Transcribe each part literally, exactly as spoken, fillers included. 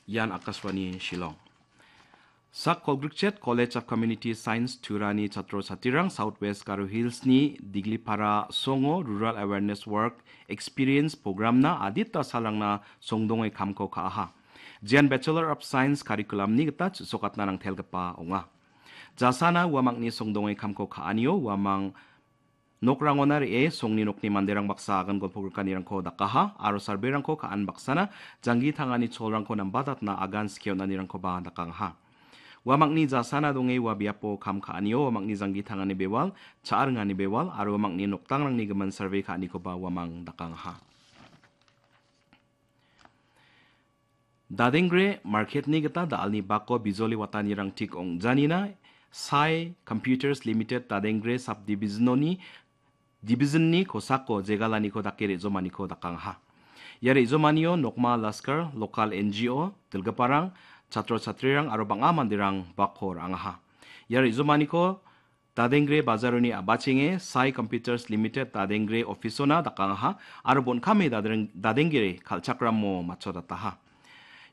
Ian Akashvani Shillong. Sak kolgrikchet College of Community Science Turani chatro chatrirang South West Garo Hills-ni Diglipara songo Rural Awareness Work Experience Programna adita salrangna songdonge kamko ka·aha. Jian Bachelor of Science Curriculum-ni gita chu·sokatna nangtelgipa ong·a. Jasana uamangni songdonge kamko ka·anio uamang nokrangona re·e songni nokni manderang baksa agan golpogrikanirangko dakaha aro sarberangko ka·an baksana janggi tangani cholrangko nambatatna agan skie on·anirangkoba dakangaha. Uamangni jasana donge ua biapo kam ka·anio uamangni janggi tangani bewal, cha·ringani bewal aro uamangni nokdangrangni gimin sarbe ka·anikoba uamang dakangaha. Dadengre market-ni gita da·alni bako bijoli watanirang tik ong·janina Sai Computers Limited Dadengre Subdivision-oni, Division-ni kosako jegalaniko dake re·jomaniko dakangaha. Ia re·jomanio Nokma Laskar, Local N G O, dilgiparang, chatro chatrirang aro bang·a manderang bako ra·angaha. Ia re·jomaniko Dadengre bajaroni a·bachenge Sai Computers Limited Dadengre office-ona dakangaha aro bon·kame dadreng-, Dadengre kal·chakramo matchotataha.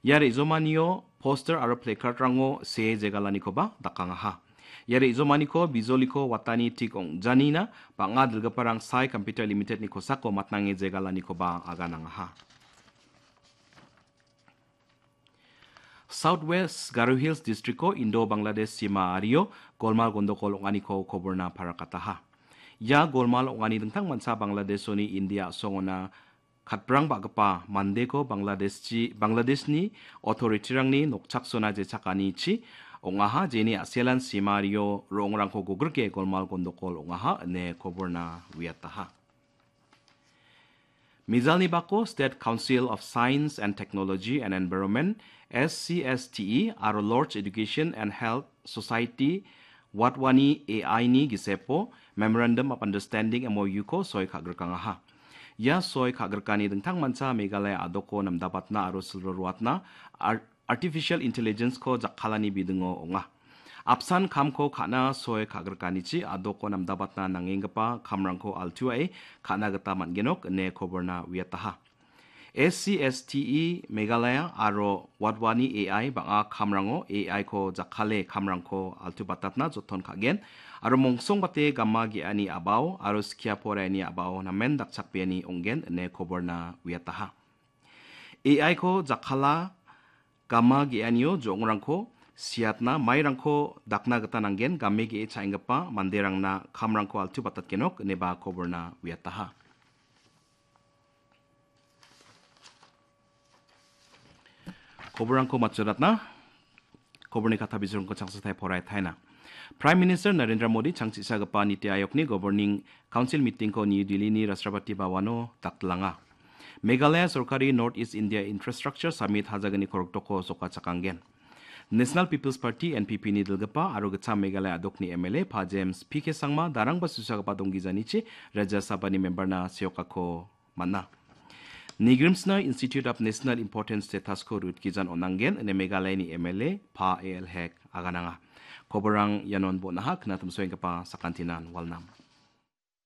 Ia re·jomanio poster aro placard-rango see jegalanikoba dakangaha. Ia re·jomaniko bijoliko watani tik ong·janina bang·a dilgiparang Sai Computer Limited-ni kosako matnange jegalanikoba aganangaha. South West Garo Hills District-o Indo-Bangladesh sima ario golmal gondokol ong·aniko koborna parakataha. Ia golmal ong·ani dingtangmancha Bangladeshoni India a·songona katbrang ba·gipa mandeko Bangladeshchi-, Bangladeshni authority-rangni nokchaksona jechakanichi ong·aha, jeni a·selan sima ario ro·ongrangko gogrike golmal gondokol ong·aha ine koborna uiataha. Mijalni bako State Council of Science and Technology and Environment, S C S T E, aro Lorch Education and Health Society, Wadhwani A I-ni gisepo Memorandum of Understanding, M O U-ko soi ka·grikangaha. Ia soi ka·grikani dingtangmancha Meghalaya a·doko namdabatna aro silro ruatna ar-, Artificial Intelligence-ko jakkalani bidingo ong·a. Apsan kamko ka·na soi ka·grikanichi a·doko namdabatna nangenggipa kamrangko altuae ka·na gita man·genok ine koborna uiataha. S C S T E Meghalaya aro Wadhwani A I bang·a kamrango A I-ko jakkale kamrangko altubatatna joton ka·gen aro mongsongbate gama ge·ani a·bao aro skia poraiani a·bao namen dakchakbeani ong·gen ine koborna uiataha. A I-ko jakkala gama ge·anio jo·ongrangko siatna mairangko dakna gita nanggen, game ge·e cha·enggipa manderangna kamrangko altubatatgenok ineba koborna uiataha. Koborrangko matchoratna, koborni katha bijolrangko changsatai poraitaina. Prime Minister Narendra Modi changchisagipa Niti Ayogni Governing Council meeting-ko New Delhi-ni Rashtrapati Bhavan-o dakdilanga. Meghalaya sorkari North East India Infrastructure Summit hajagni koroktoko sokachakanggen. National People's Party, N P P-ni dilgipa aro gitcham Meghalaya a·dokni M L A Pa James P K Sangma darangba susagipa donggijanichi Rajya Sabhani member-na seokako man·a. Nigrimsna Institute of National Importance status-ko rutgijan on·angen ine Meghalayani M L A Pa A L Hek agananga. Koborrang ianon bon·aha, knatimsoenggipa sakantinan walnam.